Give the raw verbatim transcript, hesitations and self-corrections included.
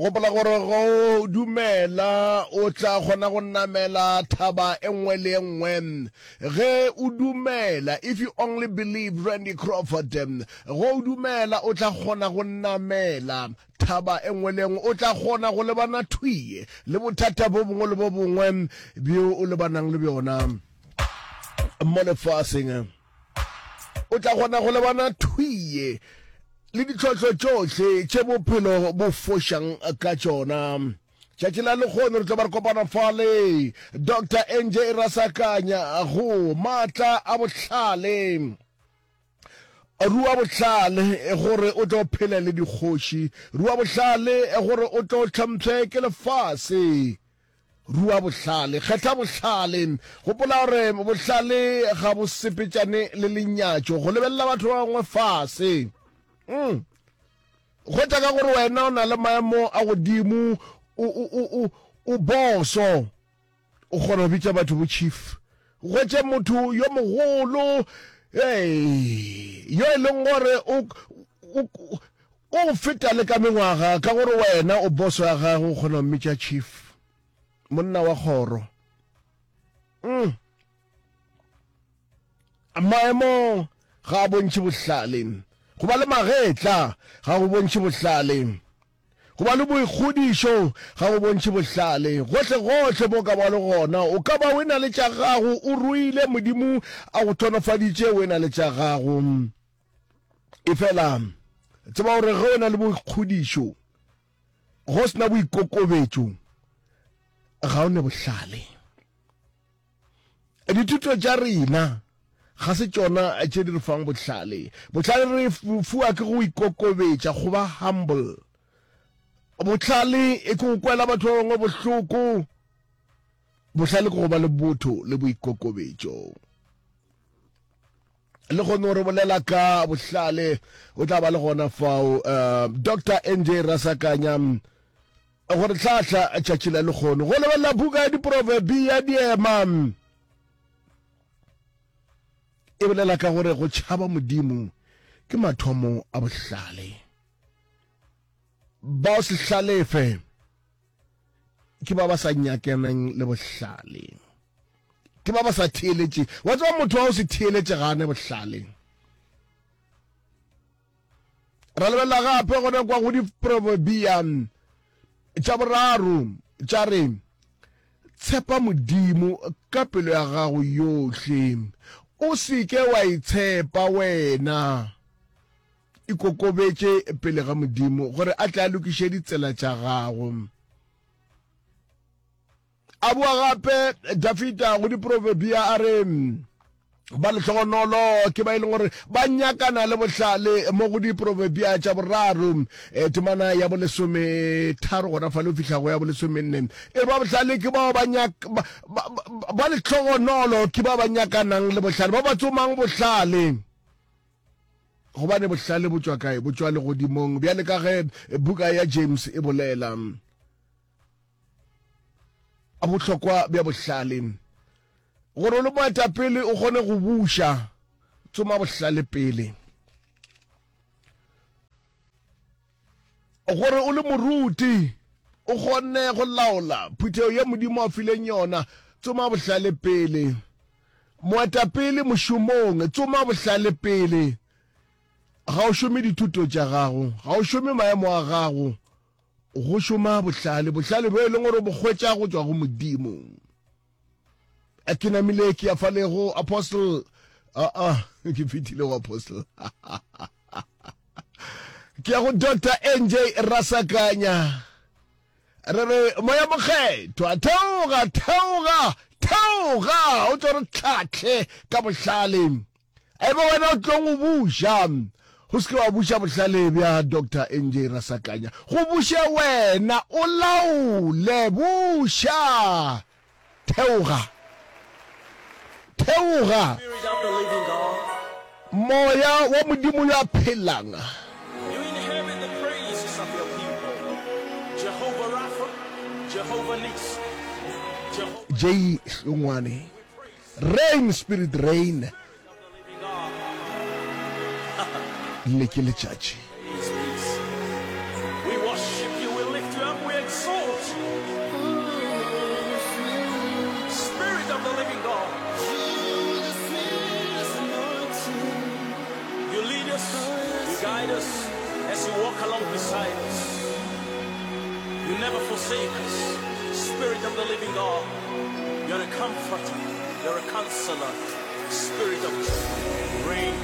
Gopola gore go dumela o tla kgona go namela thaba e nngwe le e nngwe. Ge o dumela, if you only believe Randy Crawford, go o dumela o tla kgona go namela thaba e nngwe le e nngwe. O tla kgona go lebana thwi le bothata bo bongwe le bo bongwe bjo o lebanang le bjona mo lefaseng. O tla kgona go lebana thwi le ditlhohlo tšohle tše bophelo bo fošang ka tšona. Tšatši la lekgono re tlo ba re kopana fale Doctor N J Rasakanya go Maatla a Bohlale. Rua bohlale gore o tlo phele le dikgoši. Rua bohlale gore o tlo hlompšhe ke lefase. Rua bohlale, kgetha bohlale. Gopola gore bohlale ga bo sepetšane le lenyatšo, go lebelela batho ba bangwe fase. Mm. Hwetša ka gore wena o na le maemo a godimo, o, o, o, o, o boso. O kgona go bitša batho bo chief. Hwetše motho yo mogolo, hey, yo e leng gore o, o, o feta le ka mengwaga, ka gore wena o boso ya gagwe, o kgona go mmitša chief. Monna wa kgoro. Mm. Maemo ga a bontšhe bohlale. Go ba le magetla ga go bontšhe bohlale. Go ba le boikgodišo ga go bontšhe bohlale. Gohle gohle mo ka ba le gona, o ka ba o e na le tša gago, o ruile, Modimo a go hlonofaditše o e na le tša gago. Efela tseba gore ge o na le boikgodišo, go sena boikokobetšo, ga o ne bohlale. Dithuto tša rena ga se tšona tše di re fang bohlale. Bohlale re fuwa ke go ikokobetša, go ba humble. Bohlale e ke go kwela batho ba bangwe bohloko. Bohlale ke go ba le botho le boikokobetšo. Le kgone re bolela ka bohlale, o tla ba le gona fao uh, Doctor N J Rasakanya gore tlhahla tšatši la lekgono go lebelela buka ya diproverbi ya diema e bolela ka gore go tšhaba Modimo ke mathomo a bohlale. Bao se hlalefe ke ba ba sa nyakeneng le bohlale, ke ba ba sa theeletše. Wa tseba motho wa o se theeletše ga ane bohlale. Ra lebelela gape gona kwa go diproverbia tša boraro tša re tshepa Modimo ka pelo ya gago yohle, o seke wa itshepa wena. Ikokobetše pele ga Modimo gore a tle a lokiše ditsela tša gago. A bua gape Dafida go diproverbia a re ba lehlogonolo ke ba e leng gore ba nyakana le bohlale mo go diproverbia tša boraro e, temana ya bolesome tharo gona fa le o fihla go ya bolesomenne. E ba bohlale ke bao ba nyak ba, ba, ba lehlogonolo ke ba ba nyakanang le bohlale, ba ba tsomang bohlale. Gobane bohlale bo tšwa kae? Bo tšwa legodimong, bjale ka ge buka ya James e bolela. A bohlokwa bja bohlale. Gore o le moetapele o kgone go buša, tsoma bohlale pele. Gore o le moruti o kgone go laola phuthego ye Modimo a fileng yona, tsoma bohlale pele. Moetapele mošomong, tsoma bohlale pele. Ga o šome dithuto tša gago, ga o šome maemo a gago, go šoma bohlale, bohlale bjo e leng gore bo hwetša go tšwa go Modimo. Ke namile ke ya fale go apostle, a a ke fetile go apostle, ke ya go Doctor N J Rasakanya. Re re moya mokgethwa theoga, theoga, theoga, o tlo re tlhahle ka bohlale. Ebe wena o tlong o buša, go se ke wa buša bohlale bja Doctor N J Rasakanya, go buše wena, o laole, buša, theoga, theoga. Spirit of the living God. Moya wa Modimo yo a phelang. You inhabit the praises of your people. Jehovah Rapha, Jehovah Nissi, Jehovah J Hlongwane. Rain Spirit rain. Spirit of the living God. Le ke letšatši. Peace, peace. We worship you, we lift you up. guide us, as you walk along beside us. You never forsake us. Spirit of the living God, you're a comforter, you're a counselor. Spirit of truth, reign.